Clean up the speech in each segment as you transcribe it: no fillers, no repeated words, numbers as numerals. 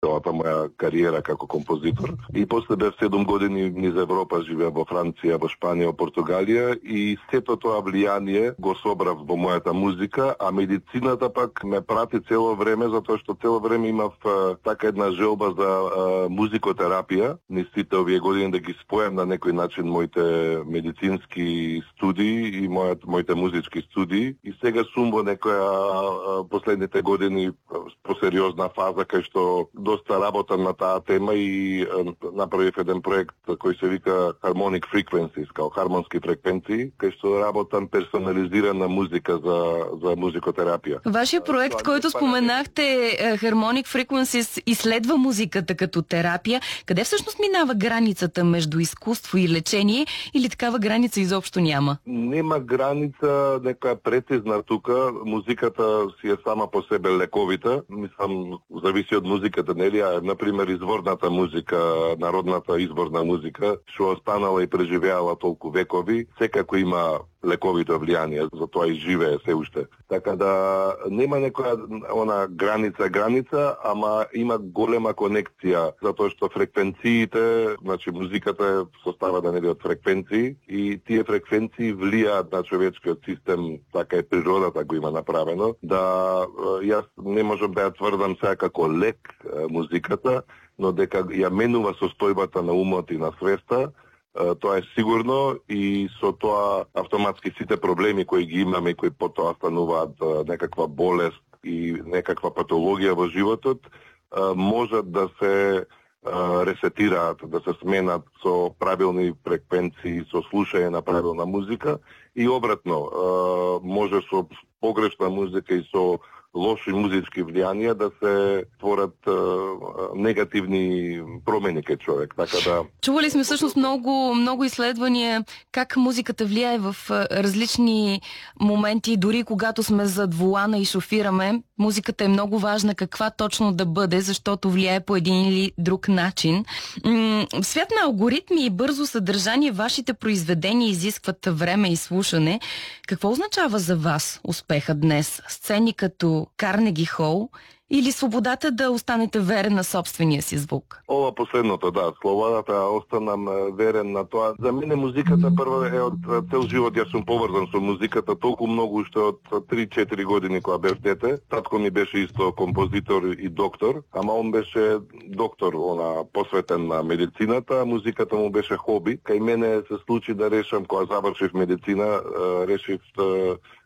целата моја кариера како композитор. И после бев 7 години низ Европа, живеа во Франција, во Шпанија, во Португалија и сето тоа влијание го собрав во мојата музика, а медицината пак ме прати цело време, затоа што цело време имав така една желба за музикотерапија. Низ сите овие години да ги спојам на некој начин моите медицински студии и моите музички студии. И сега сум во некоја последните години посериозна фаза кај што доста работам на таа тема и направив еден проект кој се вика Harmonic Frequencies, као хармонски фреквенции, кај што работам персонализирана музика за музикотерапија. Вашиот проект, којто споменахте, Harmonic Frequencies, изследва музиката като терапија. Къде всъщност минава границата между изкуство и лечение или такава граница изобщо няма? Нема граница, некоја прецизна тука. Музиката си е сама по себе лековита. Мислам, зависи од музиката, нели? Например, изворната музика, народната изворна музика, што останала и преживеала толку векови, секако има лековито влијание, затоа и живее се уште. Така да нема некоја граница, ама има голема конекција, затоа што фреквенциите, значи музиката е составена од фреквенции и тие фреквенции влијаат на човечкиот систем, така е природата го има направено, да јас не можам да ја тврдам сега како лек музиката, но дека ја менува состојбата на умот и на свеста, тоа е сигурно и со тоа автоматски сите проблеми кои ги имаме и кои потоа стануваат некаква болест и некаква патологија во животот, можат да се ресетираат, да се сменат со правилни фреквенции, со слушање на правилна музика и обратно, може со погрешна музика и со лоши музички влијанија да се творат негативни промени кај човек. Така да чували сме всъщност много изследвания как музиката влияе в различни моменти, дори когато сме зад волана и шофираме. Музиката е много важна каква точно да бъде, защото влияе по един или друг начин. В свят на алгоритми и бързо съдържание, вашите произведения изискват време и слушане. Какво означава за вас успеха днес? Сцени като Карнеги Хол или свободата да останете верен на собствения си звук? Ова последното, да, слободата останам верен на тоа. За мене музиката прво е од цел живот, јас сум поврзан со музиката толку многу уште од 3-4 години кога бев дете. Татко ми беше исто композитор и доктор, ама он беше доктор, посветен на медицината, а музиката му беше хоби. Кај мене се случи да решам, кога завршив медицина, решив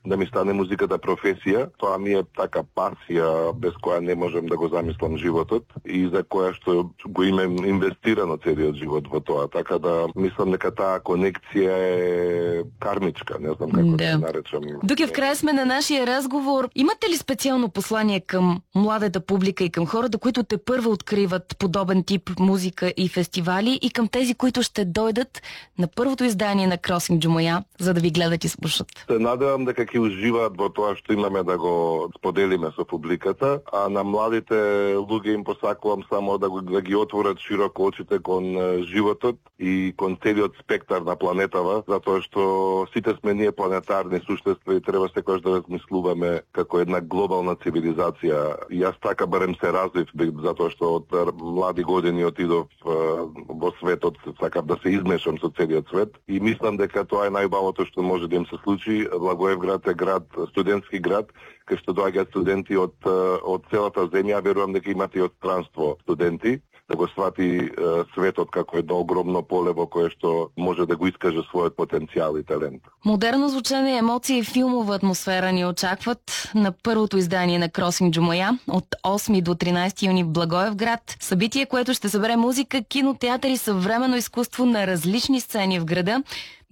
да ми стане музиката професија. Тоа ми е така пасија без која не можам да го замислам животот и за која што го имам инвестирано целиот живот во тоа. Така да мислам дека таа конекција е кармичка, не знам како да наречам. Дуке, в крај сме на нашия разговор. Имате ли специално послание към младата публика и към хората, които те първо откриват подобен тип музика и фестивали, и към тези, които ще дойдат на първото издание на Кросинг Џумоја, за да ви гледат и слушат? Се надевам дека ќе уживаат во тоа што имаме да го споделиме со публиката, а на младите луѓе им посакувам само да ги отворат широко очите кон животот и кон целиот спектар на планетава, затоа што сите сме ние планетарни суштества и треба секогаш да размислуваме како една глобална цивилизација. И јас така барем се развив, затоа што од млади години отидов во светот, сакав да се измешам со целиот свет и мислам дека тоа е најубавото што може да им се случи. Благоевград е град, студентски град, кај што доаѓаат студенти од целата земја, верувам дека имате и од странство студенти, да го свати светот како едно огромно поле во кое што може да го искаже својот потенцијал и талент. Модерно звучење, емоции и филмова атмосфера ни очакват на първото издание на Кросинг Џумоја от 8 до 13 юни в Благоевград. Събитие, което ще събере музика, кинотеатър и съвременно изкуство на различни сцени в града.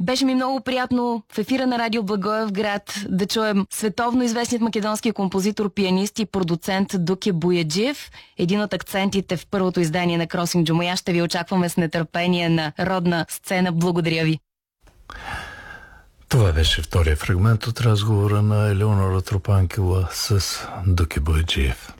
Беше ми много приятно в ефира на Радио Благоевград да чуем световно известният македонски композитор, пианист и продуцент Дуке Бояджиев. Един от акцентите в първото издание на Кросинг Џумоја. Ще ви очакваме с нетърпение на родна сцена. Благодаря ви. Това беше втория фрагмент от разговора на Елеонора Тропанкова с Дуке Бояджиев.